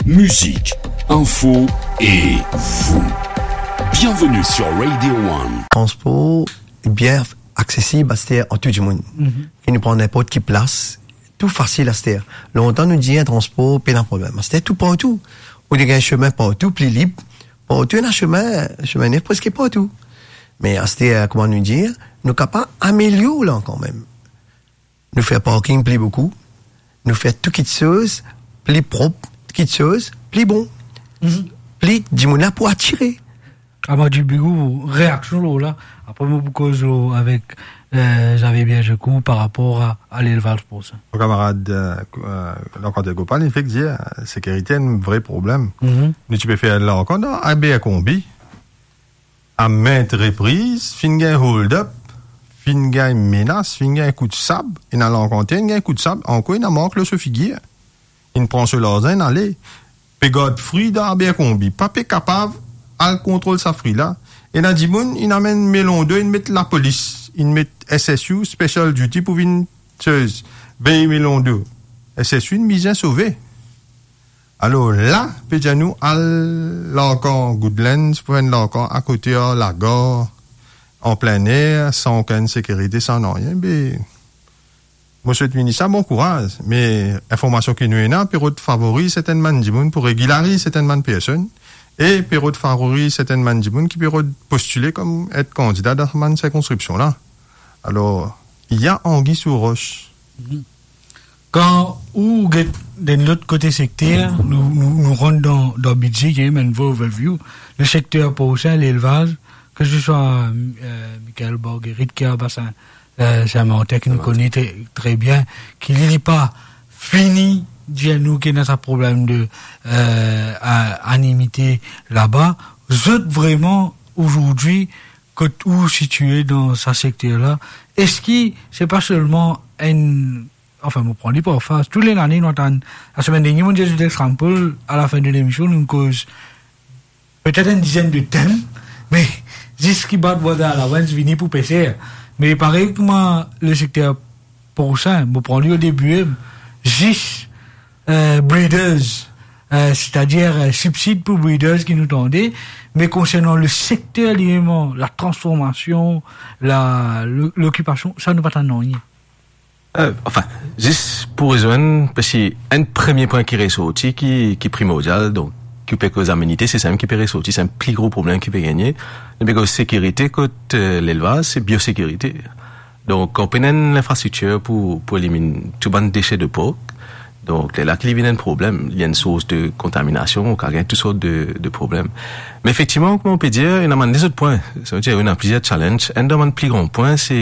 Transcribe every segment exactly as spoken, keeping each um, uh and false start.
Musique, info et vous. Bienvenue sur Radio One. Transpor bien aksesib aster an tou dimoun. Mhm. Ki nou pran ninport ki plas, tou fasil aster. Lontan nou dir transpor pena problem. Aster tou partou. Ou dir gagn sime partou, pli lib. Partou ena sime, sime nef preske partou. Me aster, kouma nou dir, nou kapav amelior la kanmem. Nou fer parking pli boukou, nou fer tou kitsoz pli prop, kitsoz pli bon. Mhm. Pli dimoun la pou atire. Amar Djilbigou, reaksion lor la. Apre mo pou koz lor avek, eh, Xavier Biergecourt par rapor a, a lelvaz porsin. Mo kamarad, eh, eh, Lacandière Gopal, li fek dir, eh, sekirite enn vre problem. Mhm. Nou ti pe fer la ankor dan Abercrombie. A mint repriz, finn gagn hold up, finn gagn menas, finn gagn kout sab, ena lankantien, inn gagn kout sab, ankor ena mark lor so figir. Inn pran so larzan, inn ale. Pe gard fri dan Abercrombie, pa pe kapav al kontrol sa fri la. Ena dimoun, inn amenn melon de, inn met lapolis, inn met S S U, Special Duty, pou vinn soz, vey melon de. S S U inn bizin sove. Alor la, pe dir nou al larkan Goodlands, pou enn larkan akote ar lagar, an plin er, san okenn sekirite, san nanye, be, mo swet minis la bon kouraz, me informasion ki nou ena, pe rod favoriz sertenn bann dimoun pou regilariz sertenn bann personn, e pe rod favoriz sertenn bann dimoun ki pe rod postile kom et kandida dan sa bann sirkonskripsion la. Alor, il y a anguille sous roche. Mhm. Kan ou get dan lot kote sekter, nou, nou, nou rant dan, dan bidze, ki enn vremem overview, le sekter porsin, lelvaz, ke se swa, eh, Michael Borgeritte ki a Basin, eh, Saint-Martin, ki nou kone tre, tre bien, ki li, li pa fini dir nou ki ena sa problem de, eh, a-, animite laba. Zot vreman, azordi, kot ou sitie dan sa sekter la, eski se pa selman enn, anfin, mo pran li par faz, tou le lane nou atann, lasemenn dernie, mo dir zot example, a lafin de lemision, nou koz petet enn dizenn de tem, me zis ki bat border allowance vini pou peser. Me parey kouma le sekter porsin, mo pran li o debi, zis, eh, breeders, eh, setadir, eh, sibsid pou breeders ki nou tande, me konsernan le sekter limem, la transformasion, la, lo-, lokipasion, sa nou pa tann nanye. Eh, anfin, zis pou rezwenn, paski enn premie pwin ki resorti, ki, ki primordial, donk, ki pe koz amenite, se samem ki pe resorti, se enn pli gro problem ki pe gagne. Nou pe koz sekirite kot, eh, lelvaz, se biosekirite. Donk, kan ou pena enn linfrastriktir pou, pou eliminn tou bann dese de pork, donk, lerla ki li vinn enn problem, li enn sours de kontaminasion, ou kapav gagn tou sort de, de problem. Me efektivman, kouma ou pe dir, ena bann lezot pwin, sa ve dir, ena plizier challenge. Enn dan bann pli gran pwin, se,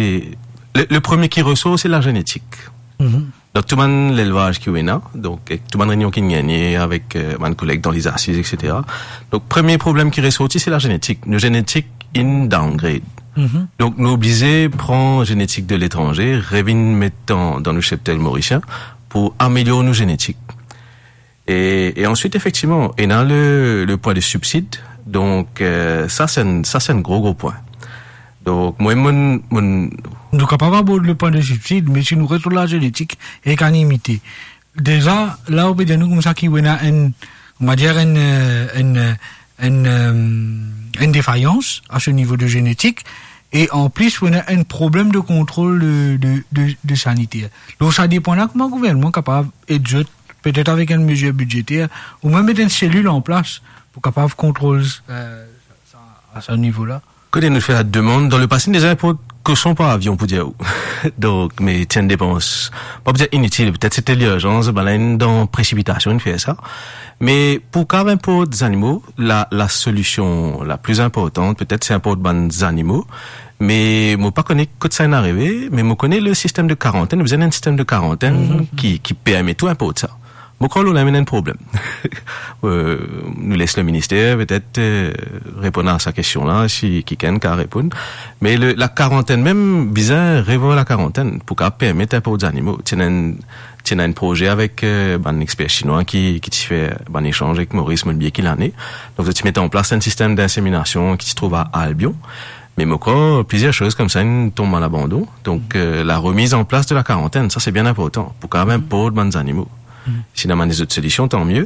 le, le premie ki resor, se lazenetik. Mhm. Dan tou bann lelvaz ki ou ena, donk, ek tou bann reynion ki nou gagne avek, eh, bann koleg dan lezasiz, et cetera. Donk, premie problem ki resorti, se lazenetik. Nou zenetik inn downgrade. Mhm. Donk, nou oblize pran zenetik de letranze, revinn met dan, dan nou cheptel morisien pou amelior nou zenetik. E, e answit, efektivman, ena le, le pwin de sibsid. Donk, eh, sa, se enn, sa, se enn gro, gro pwin. Donk, mwa, mo, mo... Nou kapav abord le pwin de sibsid, me si nou res lor lazenetik ek animite, deza, la, ou pe dir nou koumsa ki ou ena enn, on va dire, enn, eh, enn, eh, enn, eh, enn defayans a se nivo de zenetik, e anplis, ou ena enn problem de kontrol de, de, de, de saniter. Donk, sa depan la, kouma gouvernman kapav ed zot, petet avek enn mezir bidzeter, oubien met enn selil an plas pou kapav kontrol, eh, sa, a se nivo la. Kote nou fer lademann, dan lepase, nou deza inport koson par avion, pou dir ou. Donk, me ti enn depans, pa pou dir initil, petet se ti lirzans, bann la inn dan presipitasion, inn fer sa. Me pou kapav inport zanimo, la, la solision la pli inportan, petet, se inport bann zanimo. Me mo pa kone kot sa inn arive, me mo kone le sistem de karantenn, nou bizin enn sistem de karantenn, mhm, ki, ki permet ou inport sa. Mo krwar nou ena enn problem. Euh, nou les le minister, petet, euh, reponn a sa kestion la, si kikenn kapav reponn. Me le, la karantenn mem, bizin revwar la karantenn pou kapav permet inport zanimo. Ti ena enn, ti ena enn proze avek, euh, bann exper sinwa ki, ki ti fer bann esanz avek Moris, mo bliye ki lane. Donk, zot ti met an plas enn sistem d'inseminasion ki ti trouv a Albion. Me mo krwar, plizier soz koumsa inn tonm a labandon. Donk, euh, la remiz an plas de la karantenn, sa se bien inportan, pou kapav inport bann zanimo. Mhm. Si ena bann lezot solision, tan mie.